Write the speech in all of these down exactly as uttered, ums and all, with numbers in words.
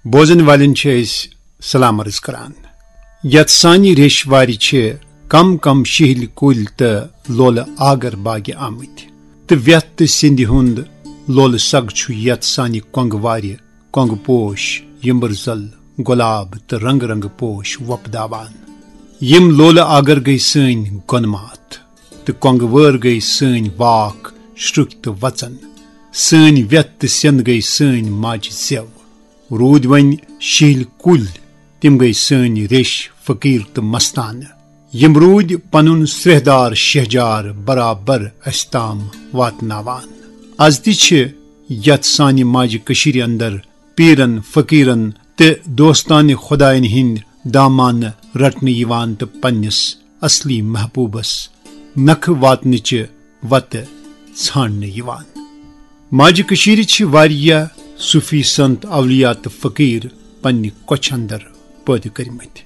بوزن والٮ۪ن چھِ أسۍ سلام عرض کران۔ یتھ سانہِ ریٚش وارِ چھِ کم کم شِہِلۍ کُلۍ تہٕ لولہٕ آگر باگہِ آمٕتۍ، تہٕ ویتھ تہٕ سِندِ ہُند لولہٕ سگ چھُ یتھ سانہِ کۄنگہٕ وارِ، کۄنگہٕ پوش، یمبٕر زل، گۄلاب تہٕ رنگہٕ رنگہٕ پوش وۄپداوان۔ یِم لولہٕ آگر گٔے سٲنۍ گۄنہٕ ماتھ، تہٕ کۄنگہٕ وٲر گٔے سٲنۍ واکھ، شرُکۍ تہٕ وژن۔ سٲنۍ ویتھ تہٕ سٮ۪ند گٔے سٲنۍ ماجہِ زٮ۪و۔ روٗدۍ وۄنۍ شِہِلۍ کُلۍ، تِم گٔے سٲنۍ ریٚش، فقیٖر تہٕ مستانہٕ۔ یِم روٗدۍ پنُن سرٛیہدار شہجار برابر اسہِ تام واتناوان۔ از تہِ چھِ یتھ سانہِ ماجہِ کٔشیٖرِ اندر پیرن، فقیرن تہٕ دوستانہِ خداین ہٕنٛدۍ دامانہٕ رٹنہٕ یِوان تہٕ پننِس اصلی محبوبس نکھٕ واتنٕچہِ وتہٕ ژھانڈنہٕ یِوان۔ ماجہِ کٔشیٖرِ چھِ واریاہ صوفی سنت، اولیاء تہٕ فقیٖر پننہِ کۄچھِ اندر پٲدٕ کٔرمٕتۍ۔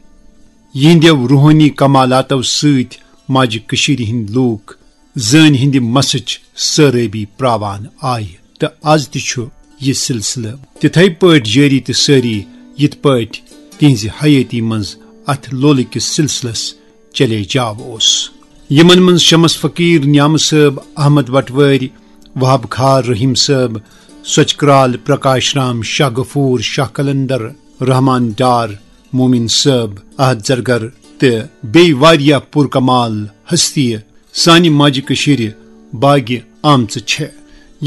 یِہنٛدیو روحٲنی کمالاتو سۭتۍ ماجہِ کٔشیٖرِ ہٕنٛدۍ لوٗکھ زٲنۍ ہٕنٛدِ مسٕچ سٲرٲبی پراوان آیہِ، تہٕ از تہِ چھُ یہِ سلسلہٕ تِتھے پٲٹھۍ جٲری تہٕ سٲری، یِتھ پٲٹھۍ تِہنٛزِ حیٲتی منٛز اتھ لولہٕ کِس سلسلس چلے جاو اوس۔ یِمن منٛز شمس فقیٖر، نیامہٕ صٲب، احمد وٹوٲرۍ، وہاب خار، رحیم صٲب، سۄچہِ کرال، پرکاش رام، شاہ غفور، شاہ قلندر، رحمان ڈار، مومن صٲب، احد زرگر تہٕ بیٚیہِ واریاہ پُرکمال ہستیہِ سانہِ ماجہِ کٔشیٖرِ باگہِ آمژٕ چھےٚ۔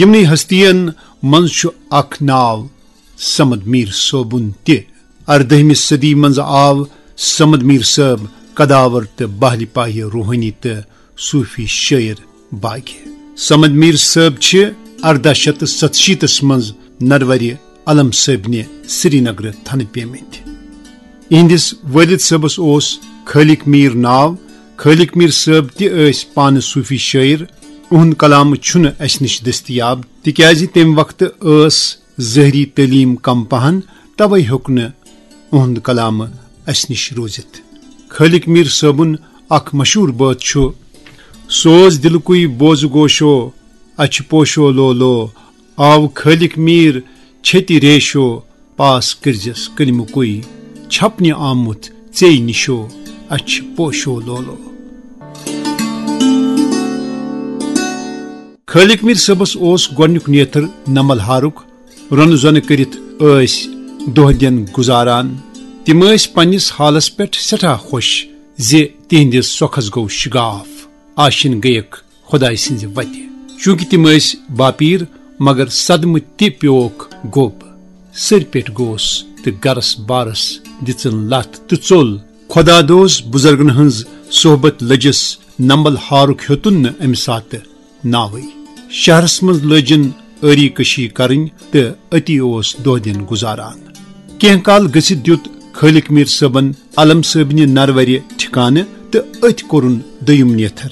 یِمنٕے ہستین منٛز چھُ اکھ ناو صمد میٖر صٲبُن تہِ۔ اردٲہمہِ صدی منٛز آو صمد میٖر صٲب قداور تہٕ باہلہِ پایہِ روحٲنی تہٕ صوفی شٲعر باگہِ۔ صمد میٖر صٲب چھِ ارداہ شیٚتھ تہٕ ستشیٖتس منٛز نروَرِ علم صٲبنہِ سرینگرٕ تھنہٕ پیمٕتۍ۔ یِہنٛدِس وٲلد صٲبس اوس خٲلق میٖر ناو۔ خٲلق میٖر صٲب تہِ ٲسۍ پانہٕ صوفی شٲعر۔ اُہُنٛد کلام چھُنہٕ اسہِ نِش دٔستیاب، تِکیازِ تمہِ وقتہٕ ٲس ظٲہری تعلیٖم کم پہن، توے ہیوٚک نہٕ اُہُنٛد کلام اسہِ نِش روٗزِتھ۔ خٲلق میٖر صٲبُن اکھ مشہوٗر بٲتھ چھُ، سوز دِلکُے بوز گوشو، اچھِ پوشو لولو، آو خٲلق میٖر چھتہِ ریشو، پاس کٔرزٮ۪س کلمہٕ کُے، چھپنہِ آمُت ژے نِشو، اچھِ پوشو لولو۔ خٲلق میٖر صٲبس اوس گۄڈنیُک نیتھر نمبل ہارُک۔ رۄنہٕ زۄنہٕ کٔرِتھ ٲسۍ دۄہ دِن گُزاران۔ تِم ٲسۍ پننِس حالس پٮ۪ٹھ سٮ۪ٹھاہ خۄش زِ تِہنٛدِس سۄکھس گوٚو شِگاف، آشِن گٔیکھ خۄداے سٕنٛزِ وتہِ۔ چوٗنٛکہِ تِم ٲسۍ باپیٖر، مگر صدمہٕ تہِ پیووکھ گوٚب۔ سٔرۍ پٮ۪ٹھ گوس تہٕ گرس بارس دِژٕن لتھ تہٕ ژوٚل۔ خۄدا دوس بُزرگن ہٕنٛز صحبت لٔجِس نمبل ہارُک ہیوٚتُن نہٕ امہِ ساتہٕ ناوٕے۔ شہرس منٛز لٲجِن ٲری کشی کرٕنۍ تہٕ أتی اوس دۄہ دِن گُزاران۔ کینٛہہ کال گٔژھِتھ دیُت خٲلق میٖر صٲبن علم صٲبنہِ نروَرِ ٹھِکانہٕ تہٕ أتھۍ کوٚرُن دوٚیِم نیتھر۔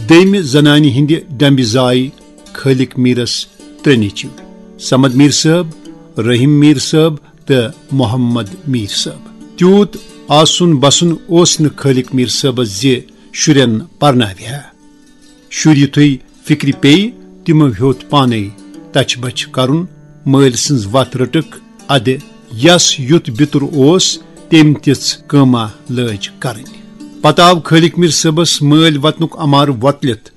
دوٚیمہِ زنانہِ ہٕنٛدِ ڈمبہِ زایہِ خٲلق میٖرس ترٛےٚ نیٚچِو، صمد میٖر صٲب، رحیم میٖر صٲب تہٕ محمد میٖر صٲب۔ تیوٗت آسُن بسُن اوس نہٕ خٲلق میٖر صٲبس زِ شُرٮ۪ن پرناوِ ہا۔ شُرۍ یُتھُے فِکرِ پیٚیہِ، تِمو ہیوٚت پانے تچھِ بچھِ کرُن، مٲلۍ سٕنٛز وتھ رٔٹٕکھ۔ ادٕ یس یُتھ بِتُر اوس، تٔمۍ تِژھ کٲما لٲج کرٕنۍ۔ پتہٕ آو خٲلق میٖر صٲبس مٲلۍ وطنُک امارٕ وۄتلِتھ